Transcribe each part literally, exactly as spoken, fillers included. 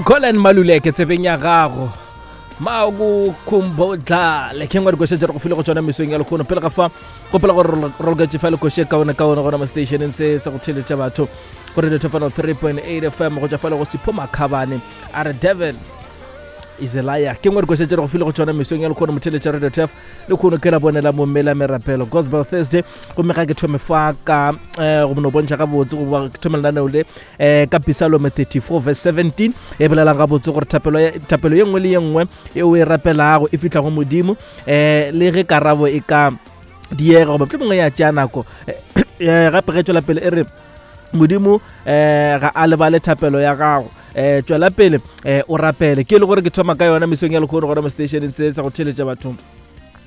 Colin Maluleke tsebeng ya gago makukhumbuza ke ngwe dikoše tše re go file go tšona mesong ya lekgono. Pele ga fa gopola gore re loketše fa lekoše kaone kaone gona mo stationeng se sa go theletša batho go Radio Tefano three point eight F M go tšwa fale go Sipho Makhabane a re Devil is a liar. Ke ngwe dikoše tše re go file go tšona mesong ya lekgono motheletša Radio Tef le kgono ke la bonela mommela merapelo Gospel Thursday. Gomme ga ke thome fa ka eh, go no bontšha gabotse goba ke thome lenaneo le eh, ka Psalm thirty-four verse seventeen e bolelang gabotse gore thapelo ya, thapelo ye nngwe le ye nngwe e o e rapelago e fihla go Modimo, eh, le ge karabo e ka diega goba mohlomongwe ya tšea nako. Eh, gape ge tšwela pele e re Modimo eh ga a lebale thapelo ya gago, eh tšwela pele eh o rapele. Ke le gore ke thoma ka yona mesong ya lekgono gona mo stationeng se sa go theletša batho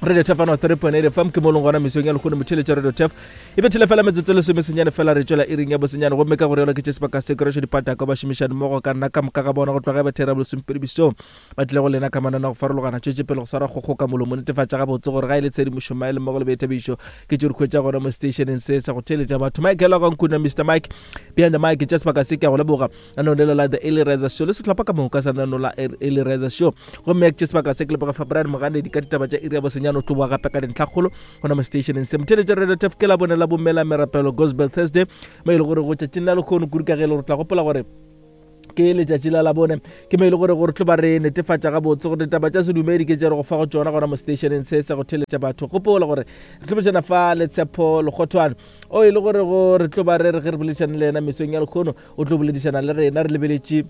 Radio Tefano three point eight F M. Ke mo leng gona mesong ya lekgono motheletša Radio Tef e bethile fela metsotso e lesome senyane fela re tšwela iring ya bosenyane. Gomme ka gore yona ke tše sebaka se kereše dipataka ba šomišane mmogo ka nna ka moka ga bona go tloga ba thera bolesomepedi besong ba tlile go lena ka manana go farologana. Tšwetše pele go swara kgokgo ka molomo netefatša gabotse gore ga e le tshedimošo maele mmogo le boithabišo ke tše re hwetša gona mo stationeng se sa go theletša batho. Michael wa Nkuna, Mister Mike behind the mic, tša sebaka se ke a go leboga nano le la The Early Riser Show le sehlopha ka moka sa nano la Early Riser Show. Gomme ke tše sebaka se ke leboga fa Brian Moganedi ka ditaba tša iri ya bosenyane o tlo boa gape ka dintlhakgolo gona mo stationeng se. Motheletša Radio Tef ke la bone la bommela merapelo Gospel Thursday mo e le gore go tšatšing la lekgono kudu ka ge e le gore tla gopola gore ke letšatši la labone ke mo e le gore gore tlo ba re netefatša gabotse gore ditaba tša sedumedi ke tše re go fa go tšona gona mo stationeng se sa go theletša batho. Gopola gore re tlo botšana fa le Tshepo Lekgothwane o e le gore go re tlo ba re re ge re boledišane le yena mesong ya lekgono o tlo boledišana le rena re lebeletše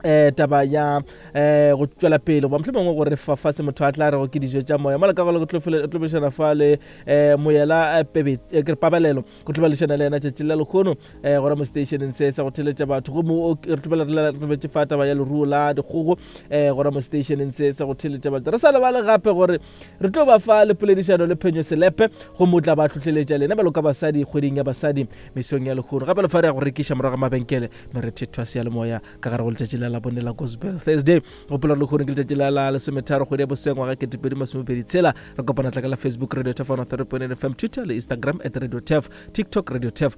eh taba ya eh go tšwela pele goba mohlomongwe gore fa fa se motho a tla rego ke dijo tša moya mola ka go tlo tlo boledišana fa le eh moyela pebe ke re pabalelo go tlo boledišana le yena tšatši la lekgono eh gona mo stationeng se sa go theletša batho. Gomme re tlo re lebetše fa taba ya leruo la dikgogo eh gona mo stationeng se sa go theletša batho. Re sa lebale gape gore re tlo ba fa le poledišano le Phenyo Selepe gomme o tla ba hlohleletša lena bjalo ka basadi kgweding ya basadi mesong ya lekgono. Gape le fa re ya go rekiša morago ga mabenkele merethetho ya seyalemoya ka gare go letšatši la labone la Gospel Thursday. Gopola gore lekgono ke letšatši la la lesometharo kgwedi ya bosengwa ga ketepedi masomepedi tshela. Re kopana tla ka la Facebook Radio Tefano three point eight F M, Twitter le Instagram at Radio Tef, TikTok Radio Tef.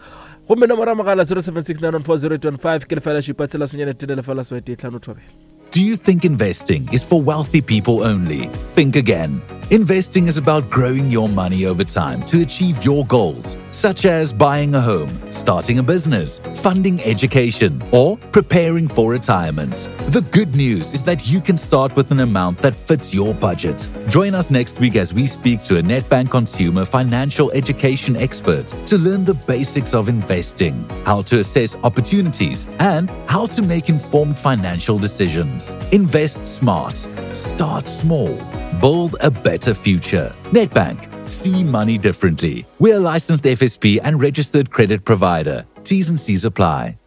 Gomme nomoro ya mogala zero seven six nine one four zero eight one five ke lefela šupa tshela senyane tee lefela seswai tee hlano thobela. Do you think investing is for wealthy people only? Think again. Investing is about growing your money over time to achieve your goals, such as buying a home, starting a business, funding education, or preparing for retirement. The good news is that you can start with an amount that fits your budget. Join us next week as we speak to a Nedbank consumer financial education expert to learn the basics of investing, how to assess opportunities, and how to make informed financial decisions. Invest smart. Start small. Build a better future. Nedbank. See money differently. We're a licensed F S P and registered credit provider. T's and C's apply.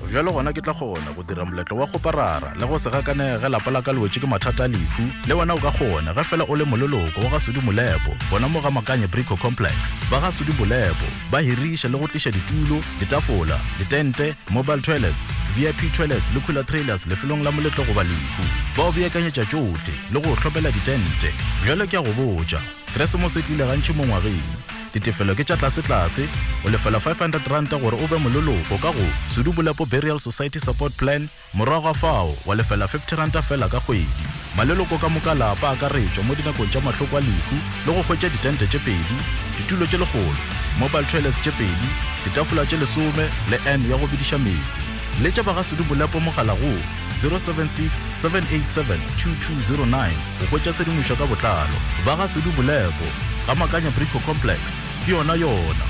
Bjalo gona ke tla kgona go dira moletlo wa go parara le go se gakanege lapa la ka le wetše ke mathata a lehu. Le wena o ka kgona ge fela o le moleloko wa ga Sudi Molepo gona mo ga Makanye Brico Complex. Ba ga Sudi Molepo ba hiriša le go tliša ditulo, ditafola, ditente, mobile toilets, V I P toilets le cooler trailers lefelong la moletlo goba lehu. Ba o beakanyetša tšohle le go hlopela ditente. Bjalo ke a go botša, Keresemose e tlile gantši mo ngwageng. Ditefelo ke tša tlase-tlase, o lefela five hundred rand gore o be moleloko ka go Sudi Molepo Burial Society Support Plan, morago ga fao wa lefela fifty rand fela ka kgwedi. Maleloko ka moka lapa a akaretšwa mo dinakong tša mahloko a lehu le go hwetša ditente tše pedi, ditulo tše lekgolo, mobile toilets tše pedi, ditafola tše lesome le N ya go bediša meetse. Letša ba ga Sudi Molepo mogala go zero seven six seven eight seven two two zero nine go hwetša tshedimošo ka botlalo. Ba ga Sudi Molepo ga Makanya Brico Complex ke yona yona.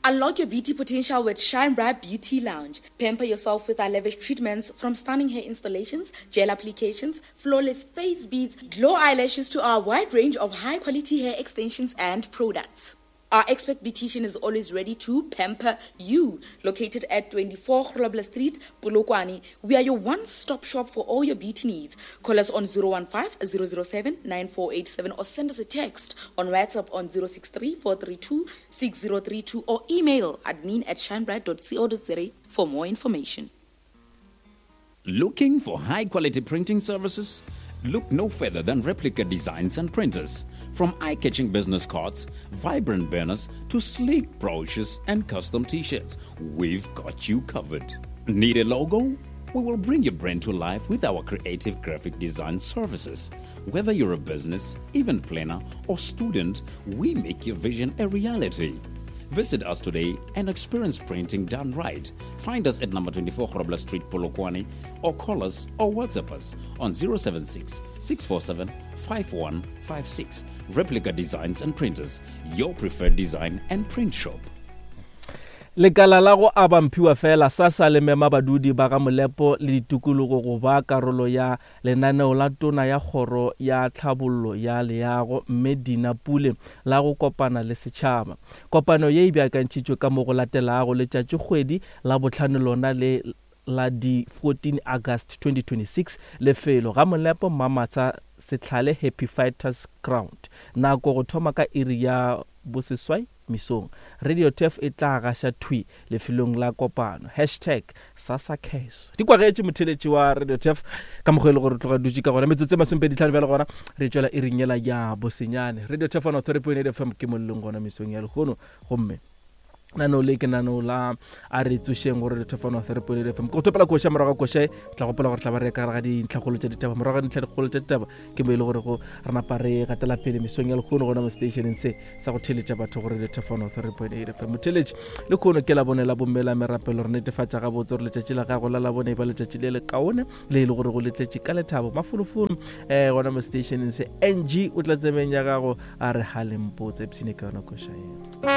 Unlock your beauty potential with Shine Bright Beauty Lounge. Pamper yourself with our lavish treatments, from stunning hair installations, gel applications, flawless face beads, glow eyelashes to our wide range of high-quality hair extensions and products. Our expert beautician is always ready to pamper you. Located at twenty-four Grobler Street, Polokwane, we are your one-stop shop for all your beauty needs. Call us on zero one five, zero zero seven, nine four eight seven or send us a text on WhatsApp on zero six three, four three two, six zero three two or email admin at shinebright dot co dot za for more information. Looking for high-quality printing services? Look no further than Replica Designs and Printers. From eye catching business cards, vibrant banners, to sleek brochures and custom t shirts, we've got you covered. Need a logo? We will bring your brand to life with our creative graphic design services. Whether you're a business, event planner, or student, we make your vision a reality. Visit us today and experience printing done right. Find us at number twenty-four Grobler Street, Polokwane, or call us or WhatsApp us on zero seven six, six four seven, five one five six. Replica Designs and Printers, your preferred design and print shop. Lekala la go aba mphiwa fela SASSA le mema badudi ba ga Molepo le ditikologo go ba karolo ya lenaneo la tona ya kgoro ya tlhabollo ya leago mme Dina Pule la go kopana le setšhaba. Kopano ye e beakantšhitšwe ka mo go latelago letšatšikgwedi la bohlano lona le la di fourteen August twenty twenty-six, lefelo ga Molepo Mamatsa Setlhale Happy Fighters Ground, nako go thoma ka iri ya boseswai mesong. Radio T F e tla gaša thwi lefelong la kopano. Hashtag SASSA Cares. Di kwagetše motheletši wa Radio T F ka mokgwa e le gore tloga dutše ka gona metsotso e masomepedi tlhano bjale gona re tšwela iring yela ya bosenyane. Radio T F one oh three point eight F M ke mollong gona mesong ya lehono, gomme nano le ke nano la a re tsošeng gore Radio T F one oh three point eight F M. Ke go thopela koša morago ga koša, tla gopola gore tla ba re ka gare ga dintlhakgolo tša ditaba. Morago ga dintlhakgolo tša ditaba ke mo e le gore go re napa re gatela pele mesong ya lehono gona mo stationeng se sa go theletša batho gore Radio T F one oh three point eight F M. Motheletši le kgono ke la bone la bomme la merapelo, re netefatša gabotse gore letšatši la gago la labone e ba letšatši le le kaone le e le gore go le tletše ka lethabo mafolofolo. Eh, gona mo stationeng se N G o tla tsemeng ya gago a re halempotse ipshine ka yona koša eo.